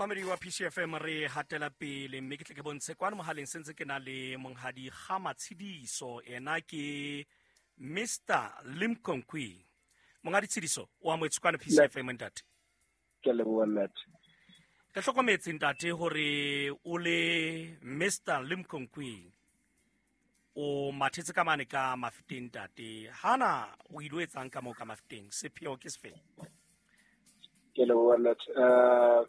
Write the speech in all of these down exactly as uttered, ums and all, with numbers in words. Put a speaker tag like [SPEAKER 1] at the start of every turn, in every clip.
[SPEAKER 1] Mamedi wa P C F M re hatela pele mme ke tle ke bontshe kwano mohaleng sentse ke na le monghadi Kgama Tshidiso, ena ke Mister Limkonkwi. Monghadi Tshidiso, o amohetswe kwano P C F M ntate.
[SPEAKER 2] Ke a leboha ntate.
[SPEAKER 1] Ke hlokometse ntate hore o le Mister Limkonkwi o mathetse ka mane ka Mafeteng ntate. Hana o ile o etsang ka moo ka Mafeteng? Sepheo ke sefe?
[SPEAKER 2] Ke leboha ntate. Uh,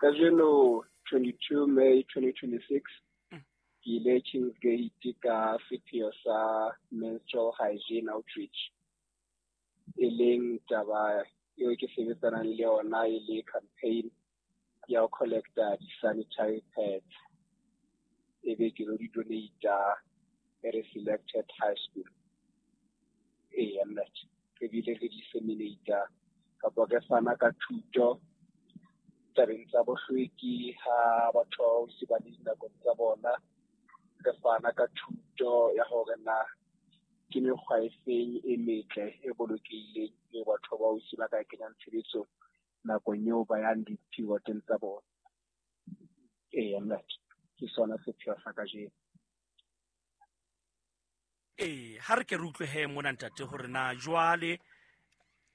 [SPEAKER 2] kajeno twenty-two May twenty twenty-six ke ile Kingsgate ka sepheo sa menstrual hygiene outreach, e leng taba eo ke sebetsanang le yona e le campaign ya ho collecta di-sanitary pads, e be ke lo di donata at a selected high school. Ee, ntate, re bile re disseminata kapa re fana ka thuto tabeng tsa bohlweki ha batho ba se ba le dinakong tsa bona. Re fana ka thuto ya hore na ke mekgwa e feng e metle e bolokehileng e batho ba ausi ba ka kenyang tshebetsong nakong eo ba yang di-periodeng tsa bona. Ee, ntate, ke sona sepheo sa kajeno.
[SPEAKER 1] Ee, ha re ke re utlwe he mona ntate hore na jwale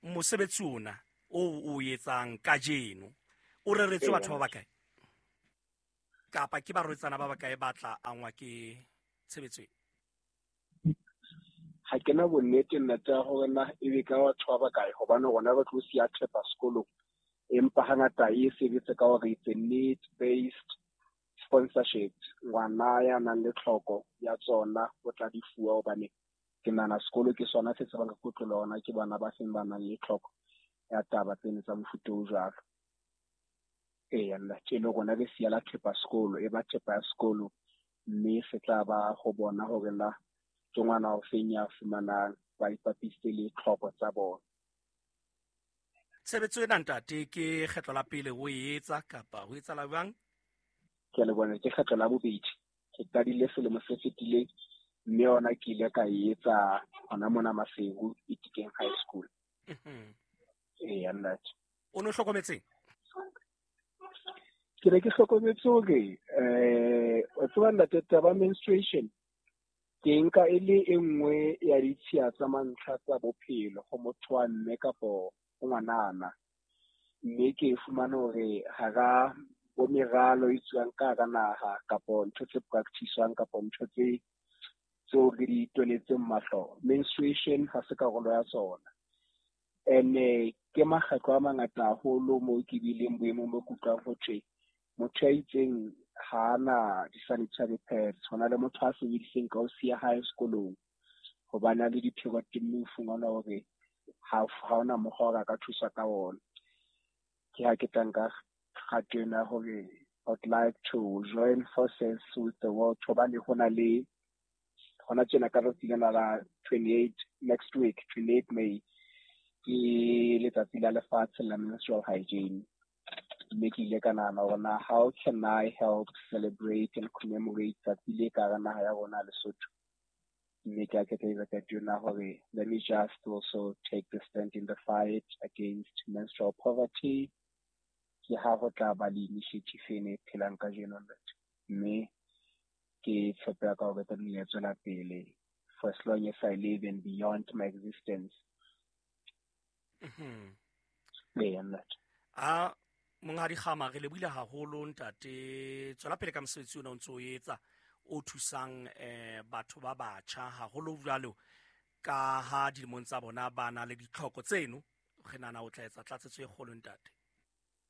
[SPEAKER 1] mosebetsi ona o o etsang kajeno o reretswe batho ba bakae, kapa ke barwetsana ba bakae ba tla angwa ke tshebetso e?
[SPEAKER 2] Ha ke na bonnete nnete ya hore na ebe ka batho ba bakae, hobane rona re tlo siya thepa sekolong, empa hangata e sebetse ka hore it's a need based sponsorship. Ngwana ya nang le tlhoko ya tsona o tla di fuwa, hobane ke nahana sekolo ke sona se tsebang ka kotlolo hona ke bana ba seng ba nang le tlhoko ya taba tseno tsa mofuta o jwalo. Ee, nna tje le rona re siya la thepa sekolo, e ba thepa ya sekolo, mme se tla ba ho bona hore na ke ngwana o feng ya fumanang, ba ipapisitse le tlhoko tsa bona.
[SPEAKER 1] Tshebetso ena ntate ke kgetlo la pele o e etsa kapa ho etsahala jwang?
[SPEAKER 2] Ke a leboha, ke kgetlo la bobedi. Ke qadile selemo se fetileng, mme yona ke ile ka e etsa hona mona Maseru Itikeng High School.
[SPEAKER 1] Mhm.
[SPEAKER 2] Ee, ntate.
[SPEAKER 1] O no hlokometseng?
[SPEAKER 2] Ke ne ke hlokometse hore, eh, wa tseba ntate, taba menstruation ke nka e le e nngwe ya ditshiya tsa mantlha tsa bophelo ho motho wa mme kapo ho ngwanana. Mme ke fumane hore hara bo meralo e tswang ka hara naha kapo ntho tse practice-wang kapo ntho tse tseo re di tonetseng mahlo, menstruation ha se karolo ya tsona. Ene ke makgetlo a mangata haholo moo ke bileng boemong bo ke utlwang ho thwe motho ya itseng ha ana di-sanitary pads, ho na le motho a sebediseng ka ho siya hae sekolong hobane a le di-period, mme o fumana hore ha ha hona mokgwa hore a ka thuswa ka ona. Ke ha ke tla nka kgato ena hore I'd like to join forces with the world, hobane ho na le hona tjena ka tsatsi lena la twenty-eight next week, twenty-eight May, ke letsatsi la lefatshe la menstrual hygiene. Mme ke ile ka nahana hore na how can I help celebrate and commemorate tsatsi le ka hara naha ya rona Lesotho. Mme ke a ke tla etsa qeto ena hore let me just also take the stand in the fight against menstrual poverty. Ke ha ho tla ba le initiative ena e phelang kajeno ntate. Mme ke tshepa ka hore tla nne ya tswela pele for as long as I live and beyond my existence.
[SPEAKER 1] Mhm.
[SPEAKER 2] Ee, ntate.
[SPEAKER 1] A monghadi Kgama, re lebohile haholo ntate. Tswela pele ka mosebetsi ona o ntso o etsa o thusang eh batho ba batjha haholo jwalo ka ha dilemong tsa bona ba na le ditlhoko tseno. Re nahana o tla etsa tlatsetso e kgolo ntate.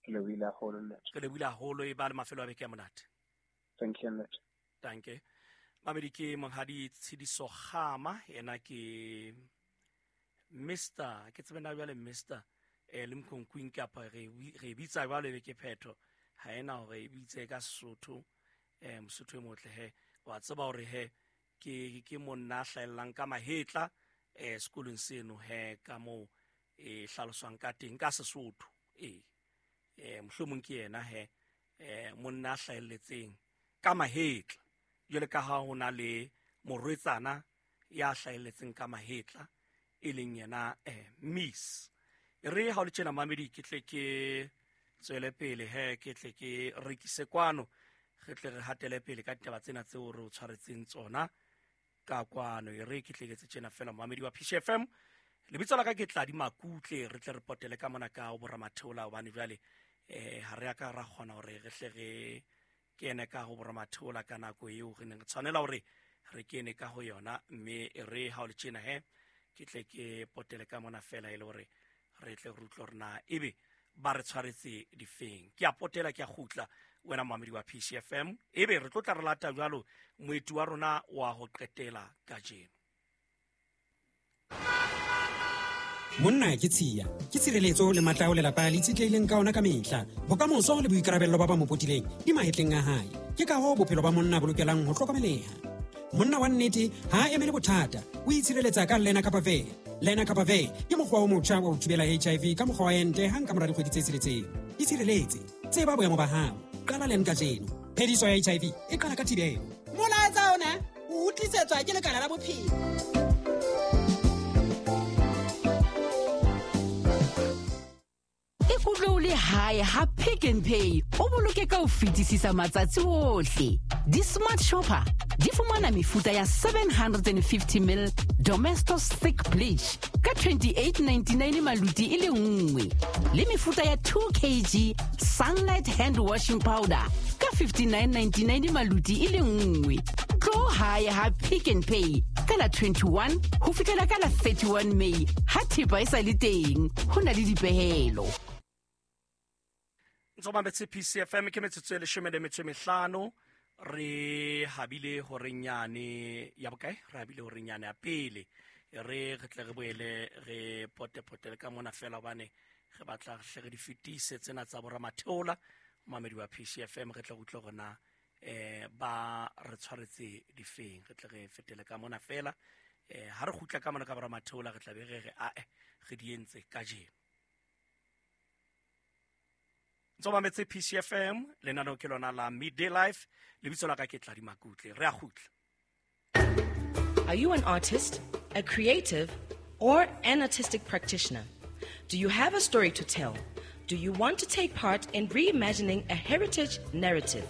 [SPEAKER 2] Ke lebohile haholo ntate.
[SPEAKER 1] Ke lebohile haholo, e ba le mafelo a beke a monate.
[SPEAKER 2] Thank you ntate.
[SPEAKER 1] Danke. Mamedi ke monghadi Tshidiso Kgama, yena ke Mister, ke tsebe na jwale Mister eh Limkokwing kapa re re bitsa jwalo ebe ke phetho, ha ena hore e bitse ka Sesotho, eh Mosotho e motle he. Wa tseba hore he ke ke monna a hlahellang ka mahetla eh sekolong seno he ka moo e hlaloswang ka teng ka Sesotho. Ee, eh mohlomong ke yena he, eh monna a hlahelletseng ka mahetla, jwale ka ha ho na le morwetsana ya hlahelletseng ka mahetla e leng yena, eh, Miss. E re ha o le tjena mamedi, ke tle ke Tswele pele he ke tle ke rekise kwano, re tle re hatele pele ka ditaba tsena tseo re o tshwaretseng tsona ka kwano. E re ke tle ke tse tjena fela momamedi wa P C F M. Lebitso la ka ke Tladi Makutle, re tle re potele ka mona ka ho boramatheola hobane jwale eh ha re a ka ra kgona hore re hle re kene ka ho boramatheola ka nako eo re neng re tshwanela hore re kene ka ho yona. Mme e re ha o le tjena he ke tle ke potele ka mona fela e le hore re tle re utlwe hore na ebe ba re tshwaretse difeng. Ke a potela, ke a kgutla wena momamedi wa P C F M, ebe re tlo tla re lata jwalo moeti wa rona wa ho qetela kajeno.
[SPEAKER 3] Monna ke tshiya, ke tshireletso le matla ao lelapa le itshetlehileng ka ona ka mehla. Bokamoso le boikarabello ba ba mo potileng di mahetleng a hae. Ke ka hoo bophelo ba monna bo lokelang ho hlokomeleha. Monna wa nnete ha a emele bothata, o itshireletsa ka Lenacapavir. Lenacapavir ke mokgwa o motjha wa ho thibela H I V ka mokgwa wa ente hang ka mora dikgwedi tse tsheletseng. Itshireletse, tseba boemo ba hao. Qala len kajeno. Phediso ya H I V e qala ka thibelo.
[SPEAKER 4] Molaetsa ona o utlisetswa ke Lekala la Bophelo.
[SPEAKER 5] Ikutlwe o le hae ha Pick n Pay o boloke ka ho fetisisa matsatsi ohle. Di-smart shopper di fumana mefuta ya seven hundred and fifty mil Domestos thick bleach ka twenty-eight ninety-nine maluti e le nngwe, le mefuta ya two kilograms Sunlight hand washing powder ka fifty-nine ninety-nine maluti e le nngwe. Tlo hae ha Pick n Pay ka la twenty-one ho fihlela ka la thirty-one May ha thepa e sa le teng, ho na le dipehelo.
[SPEAKER 1] Ntso mametse P C F M ke metsotso e leshome le metso e mehlano. Re habile horenyane ya bokae? Re habile horenyane ya pele. E re re tle re boele re pote-potele ka mona fela hobane re batla hle re di fetise tsena tsa boramatheola. Momamedi wa P C F M re tle re utlwe hore na eh ba re tshwaretse difeng. Re tle re fetele ka mona fela. Eh ha re kgutla ka mona ka boramatheola re tla be re re ae re di entse kajeno. Ntso mametse P C F M, lenaneo ke lona la Midday Life, lebitso la ka ke Tladi Makutle. Re a kgutla.
[SPEAKER 6] Are you an artist, a creative, or an artistic practitioner? Do you have a story to tell? Do you want to take part in reimagining a heritage narrative?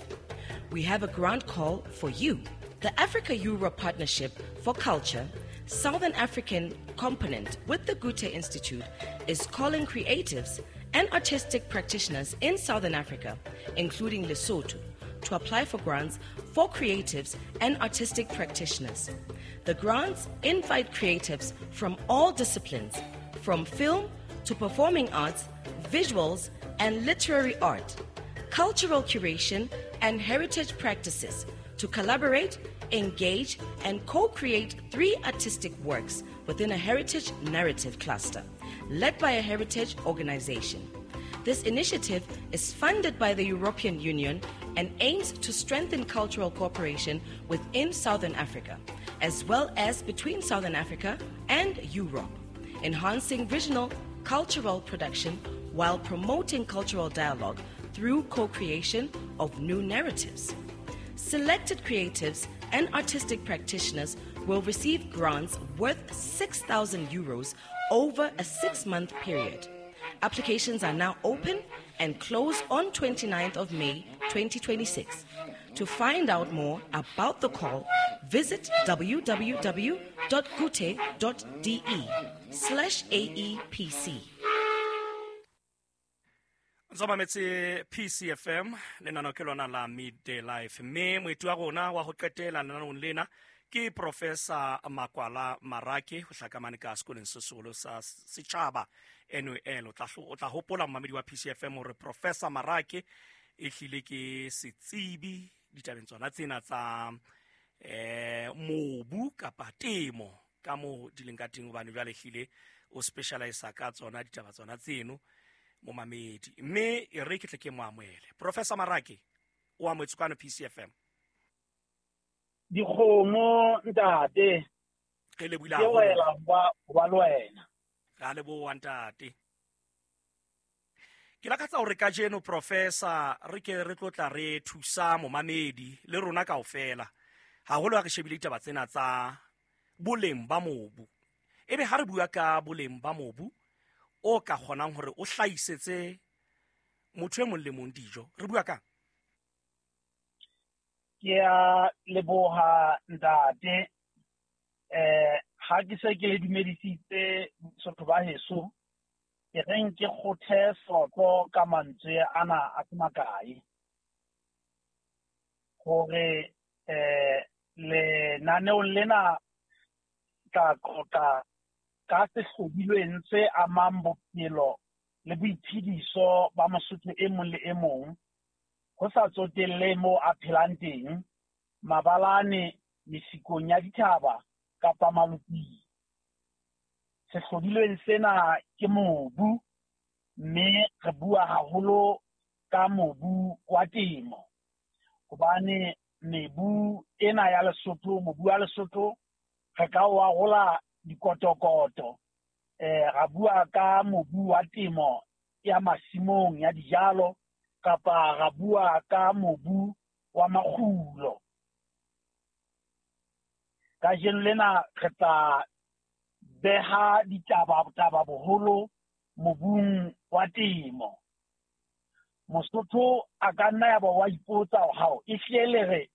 [SPEAKER 6] We have a grant call for you. The Africa-Europe Partnership for Culture, Southern African component with the Goethe Institute, is calling creatives and artistic practitioners in Southern Africa, including Lesotho, to apply for grants for creatives and artistic practitioners. The grants invite creatives from all disciplines, from film to performing arts, visuals and literary art, cultural curation and heritage practices, to collaborate, engage, and co-create three artistic works within a heritage narrative cluster, led by a heritage organization. This initiative is funded by the European Union and aims to strengthen cultural cooperation within Southern Africa, as well as between Southern Africa and Europe, enhancing regional cultural production while promoting cultural dialogue through co-creation of new narratives. Selected creatives and artistic practitioners will receive grants worth six thousand euros over a six-month period. Applications are now open and close on twenty-ninth of May twenty twenty-six. To find out more about the call, visit w w w dot goethe dot d e slash A E P C.
[SPEAKER 1] Ntso mametse P C F M, lenaneo ke lona la Midday Life, mme moeti wa rona wa ho qetela lenaneong lena ke Professor Makwala Marake, ho hlakamane ka sekolong se seholo sa setjhaba N U L. O tla hlo-, o tla hopola momamedi wa P C F M hore Professor Marake e hlile ke setsebi ditabeng tsona tsena tsa, eh, mobu kapa temo ka moo di leng ka teng, hobane jwale hlile o specialise ka tsona ditaba tsona tseno momamedi. Mme e re ke tle ke mo amohele. Professor Marake, o amohetswe kwano P C F M.
[SPEAKER 7] Dikgomo ntate.
[SPEAKER 1] Re lebohile
[SPEAKER 7] Ke
[SPEAKER 1] haholo.
[SPEAKER 7] wela ho ba, ho ba le wena.
[SPEAKER 1] Re a leboha ntate. Ke lakatsa hore kajeno Professor re ke re tlo tla re thusa momamedi le rona kaofela, haholo ha re shebile ditaba tsena tsa boleng ba mobu. Ebe ha re bua ka boleng ba mobu o ka kgonang hore o hlahisetse motho e mong le mong dijo. Re bua kang?
[SPEAKER 7] Ke a leboha ntate. Eh ha ke se ke le dumedisitse Basotho ba heso, ke reng ke kgothe soto ka mantswe ana a se makae hore eh lenaneong lena tla qoqa ka sehlodilweng se amang bophelo le boiphediso ba Mosotho e mong le e mong, ho sa tsotelle moo a phelang teng, mabalane, mesikong ya dithaba kapa maloping. Sehlodilweng sena ke mobu, mme re bua haholo ka mobu wa temo, hobane mebu ena ya Lesotho, mobu wa Lesotho re ka o arola dikotokoto. Eh ra bua ka mobu wa temo ya masimong ya dijalo, kapa ra bua ka mobu wa makgulo. Kajeno lena re tla beha ditaba taba boholo mobung wa temo. Mosotho a ka nna ya ba wa ipotsa hore hao e hlile le re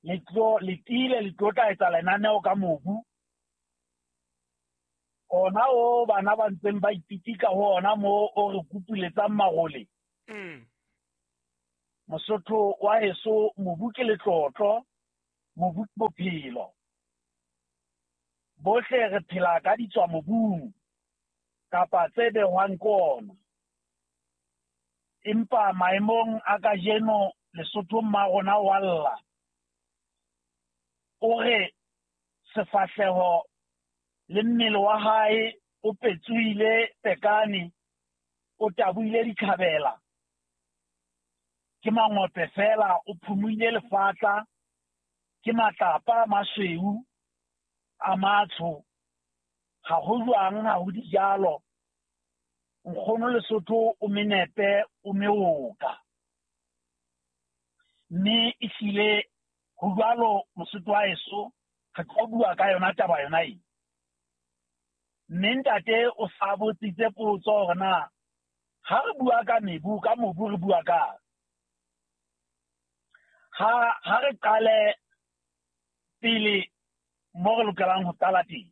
[SPEAKER 7] le tlo le tiile le tlo tla etsa lenaneo ka mobu ona o bana ba ntseng ba ipitika ho ona mo o re kupiletsang marole.
[SPEAKER 1] Mm.
[SPEAKER 7] Mosotho wa heso, mobu ke letlotlo, mobu ke bophelo. Bohle re phela ka ditswa mobung kapa tse behwang ke ona. Empa maemong a kajeno Lesotho mma rona wa lla, o re sefahleho le mmele wa hae o petsohile pekane, o tabohile dikhabela, ke mangope fela, o phumuile lefatla, ke matlapa a masweu a matsho, ha ho jwang, ha ho dijalo. Nkgono Lesotho o menepe, o meoka. Mme ehlile ho jwalo Mosotho wa heso, re tlo bua ka yona taba yona e. Mme ntate o sa botsitse potso hore na ha re bua ka mebu, ka mobu re bua ka ha ha re qale pele mo re lokelang ho qala teng.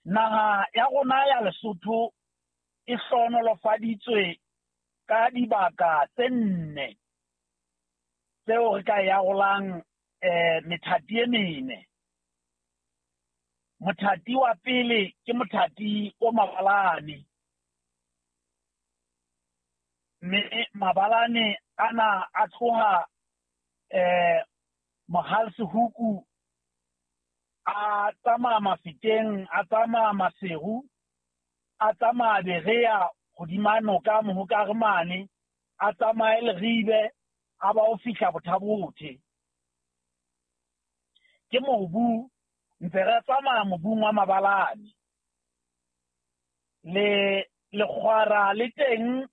[SPEAKER 7] Naha ya rona ya Lesotho e hlohonolofaditswe ka dibaka tse nne tseo re ka e arolang eh methati e mene. Mothati wa pele ke mothati o mabalane, mme mabalane ana a tloha eh Mohalsehuku, a tsamaya Mafeteng, a tsamaya Maseru, a tsamaya Berea hodima noka Mohokare mane, a tsamaye Leribe, a ba o fihla Bothabothe. Ke mobu ntse re tsamaya mobung wa mabalane. Le lekgwara le teng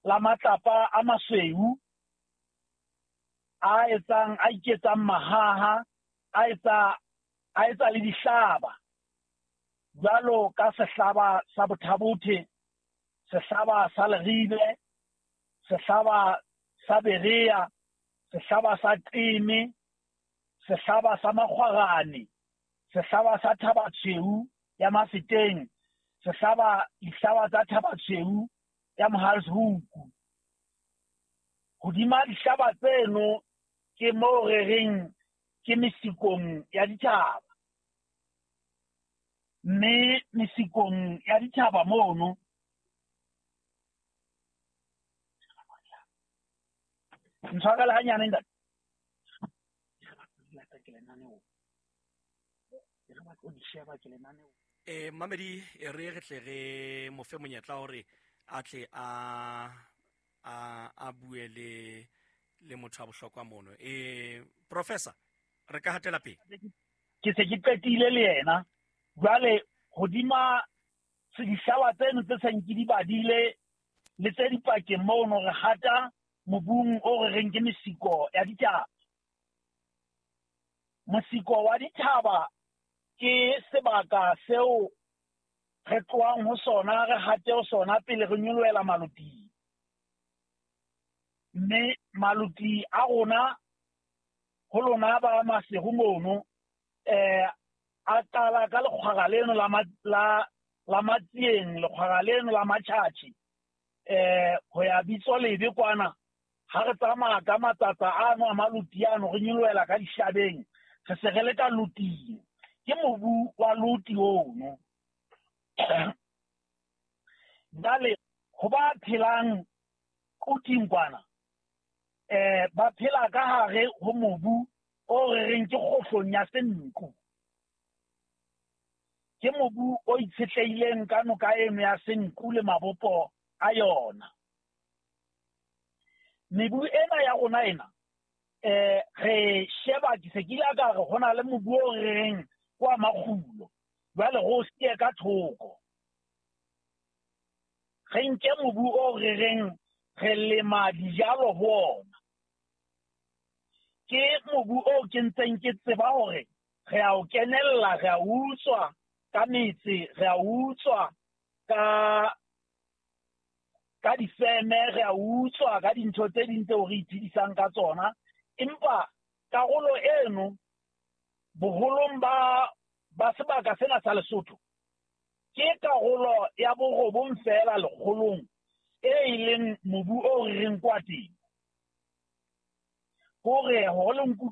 [SPEAKER 7] la matlapa a masweu a etsang a iketsang mahaha, a etsa a etsa le dihlaba jwalo ka sehlaba sa Bothabothe, sehlaba sa Leribe, sehlaba sa Berea, sehlaba sa Qeme, sehlaba sa Makgwarane, sehlaba sa Thabatshweu ya Mafeteng, sehlaba dihlaba tsa Thabatshweu ya Mohalshuku. Hodima dihlaba tseno ke moo re reng ke mesikong ya dithaba. Mme mesikong ya dithaba mono ntshwarele hanyane ntate.
[SPEAKER 1] Eh mamedi e re re tle re mo fe monyetla hore a tle a a a bue le le motho wa bohlokwa mono. Eh professor, re ka hatela pele.
[SPEAKER 7] Ke se ke qetile le yena. Jwale hodima dihlaba tseno tse seng ke di badile le tse dipakeng mono re hata mobung o re reng ke mesiko ya dithaba. Mosiko wa dithaba ke sebaka seo re tlohang ho sona re hate ho sona pele re nyolohela maloting. Mme maloti a rona ho lona ba Maseru mono eh a qala ka lekgwara leno la la la Matsieng, lekgwara leno la Matjhatjhi eh ho ya bitso lebe kwana. Ha re tsamaya ka matsatsa ano a maloti ano re nyolohela ka dishabeng, re se re le ka loting. Ke mobu wa loti ono. Jwale ho ba phelang koting kwana eh ba phela ka hare ho mobu o re reng ke kgohlong ya Senqu. Ke mobu o itshetlehileng ka noka eno ya Senqu le mabopo a yona. Mebu ena ya rona ena eh re sheba ke se ke ile ka re ho na le mobu o re reng kwa makgulo, jwale go sie ka thoko. Re nke mobu o re reng re lema dijalo ho ona. Ke mobu o ke ntseng ke tseba hore re a o kenella, re a utswa ka metse, re a utswa ka ka difeme, re a utswa ka dintho tse ding tseo re iphedisang ka tsona. Empa karolo eno boholong ba ba sebaka sena sa Lesotho ke karolo ya borobong feela lekgolong e ileng mobu o re reng kwa teng. Hore hore le